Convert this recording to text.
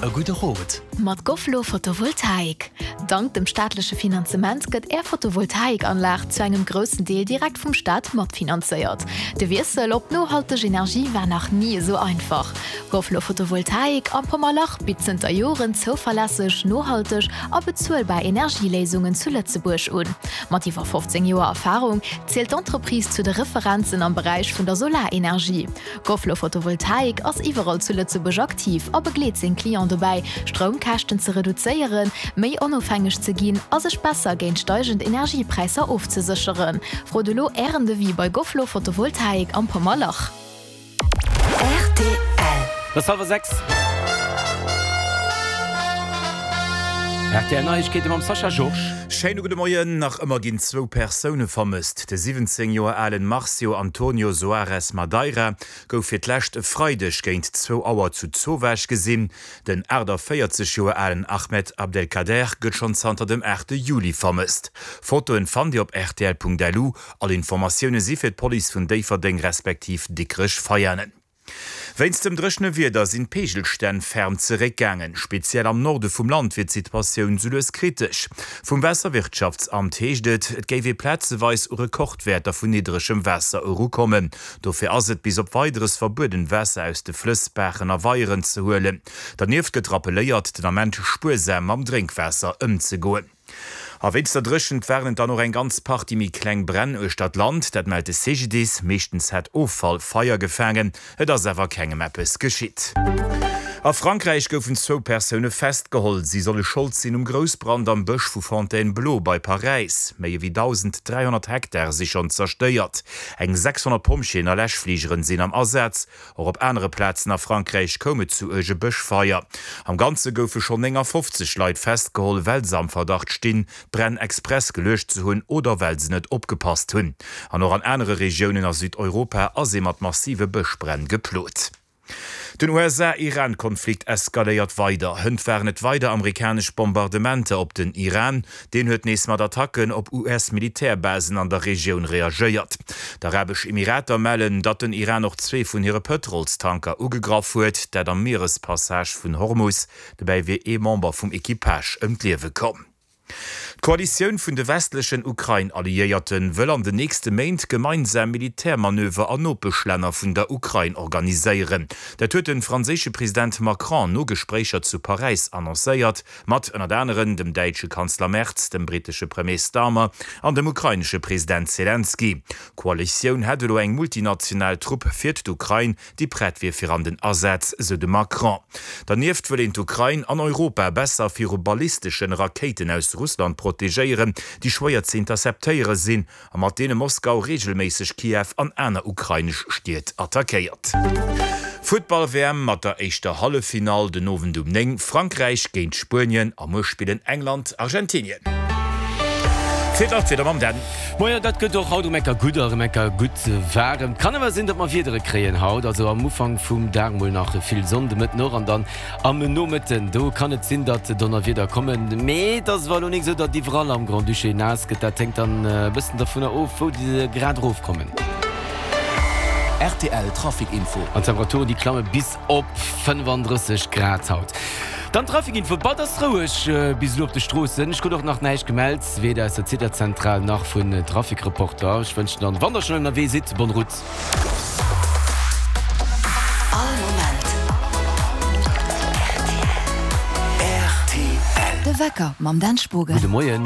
E gudde Rot. Mat Gofflo Photovoltaik. Dank dem staatleche Finanzement gëtt Är Photovoltaikanlag zu engem groussen Deel direkt vum Staat matfinanzéiert. De Wiessel op nohalteg Energie war nach ni esou einfach. Gofflo Photovoltaik am Pommerlach bitt zënter Joren zouverlässeg, nohalteg a bezuelbar Energieléisungen zu Lëtzebuerg un. Mat iwwer 15 Joer Erfarung zielt d'Entreprise zu de Referenzen am Beräich vun der Solarenergie. Gofflo Photovoltaik ass iwwerall zu Lëtzebuerg aktiv a begleet seng Clients dobäi, Stroumkäschten ze reduzéieren, méi onofhängeg ze ginn a sech besser géint steigend Energiepräisser ofzesécheren. Frot elo Ären Devis bei Gofflo Photovoltaik am Pommerlach. Rtl. Et ass hallwer 6. Rtl Neiegkeete mam Sascha Georges. Schéine gudde Moien. Nach ëmmer ginn zwou Persoune vermësst. De 17 Joer alen Marcio Antonio Soares Madeira gouf fir d'lescht e Freideg géint zwou Auer zu Zowaasch gesinn. Den 48 Joer alen Ahmed Abdelkader gëtt schonn zanter dem 8 Juli vermësst. Fotoen fannt Dir op rtl.lu. All Informatioune si fir d'Police vun Déifferdeng respektiv Dikrech-Veianen. Wéinst dem dréchene Wieder sinn d'Peegelstänn ferm zeréckgaangen. Speziell am Norde vum Land wier d'Situatioun sou lues kritesch. Vum Waasserwirtschaftsamt heescht et, et géif ee plazeweis u Rekordwäerter vun niddregem Waasser erukommen. Dofir ass et bis op Weideres verbueden, Waasser aus de Flëss, Baachen a Weieren ze huelen. Dernieft gëtt rappelléiert, den Ament spuersam mam Drénkwaasser ëmzegoen. A wéinst der Dréchent waren et dann och eng ganz Partie méi kleng Bränn uechter d'Land. Dat mellt de CGDIS. Meeschtens hätt Offall Feier gefaangen, et ass awer kengem eppes geschitt. A Frankräich goufen zwou Persoune festgeholl. Si solle Schold sinn um Groussbrand am Bësch vu Fontainebleau bei Paräis. Méi ewéi 1.300 Hektar si schonn zerstéiert. Eng 600 Pompjeeën a Läschfligeren sinn am Asaz. Och op anere Plazen a Frankräich koum et zu uerge Bëschfeier. Am Ganze goufe schonn 59 Leit festgeholl, well se am Verdacht stinn, d'Bränn express geluecht ze hunn oder well se net opgepasst hunn. An och an anere Regiounen a Südeuropa ass ee mat massive Bëschbränn geplot. Den USA-Iran-Konflikt eskaléiert weider. Hënt waren et weider amerikanesch Bombardementer op den Iran. Deen huet nees mat Attacken op US-Militärbasen an der Regioun reagéiert. D'Arabesch Emirater mellen, datt den Iran och zwee vun hire Pëtrolstanker ugegraff huet, dat am Mierespassage vun Hormus. Dobäi wier ee Member vum Equipage ëm d'Liewe komm. D'Koalitioun vun de westlechen Ukrain-Alliéierte wëll an den nächste Méint gemeinsam Militärmanöver an Nopeschlänner vun der Ukrain organiséieren. Dat huet de franséische President Macron no Gespréicher zu Paräis annoncéiert. Mat ënnert aneren dem däitsche Kanzler Merz, dem brittesche Premier Starmer an dem ukrainesche President Selenskyj. D'Koalitioun hätt elo eng multinational Trupp fir d'Ukrain, déi prett wier fir an den Asaz, sou de Macron. Dernieft wëll een d'Ukrain an Europa besser viru ballisteschen Rakéiten aus Russland protegéieren, déi schwéier ze interceptéiere sinn a mat deene Moskau reegelméisseg Kiew an aner ukrainesch Stied attackéiert. Futtball-WM mat der éischter Halleffinall den Owend um 9, Frankräich géint Spuenien a muer spillen England, Argentinien. Fir d'Nachtwieder mam Dan. Moien, dat gëtt och haut erëm enker gutt a erëm enker gutt waarem. Kann awer sinn, datt mer Wiedere kréien haut, also am Ufank vum Dag mol nach vill Sonn, de Mëtten och an dann Am Nomëtten, do kann et sinn, datt Donnerwieder kommen, mee et ass awer elo nik esou, datt iwwerall am Grand-Duché naass gëtt. Dat hänkt dann e bëssen dervunner of, wou déi grad erofkommen. Rtl Trafic Info. An d'Temperaturen, déi klamme bis op 35 Grad haut. Dann d'Trafic Info, Bad ass roueg bis elo op de Stroossen. Ech krut och nach näischt gemellt, weder aus der Zitterzentral nach vun Trafic-Reporter. Ech wënschen dann, wann der schonn ënnerwee sidd, bonne route. All Moment rtl. De Wecker mam Dan Spogen. Gudde Moien.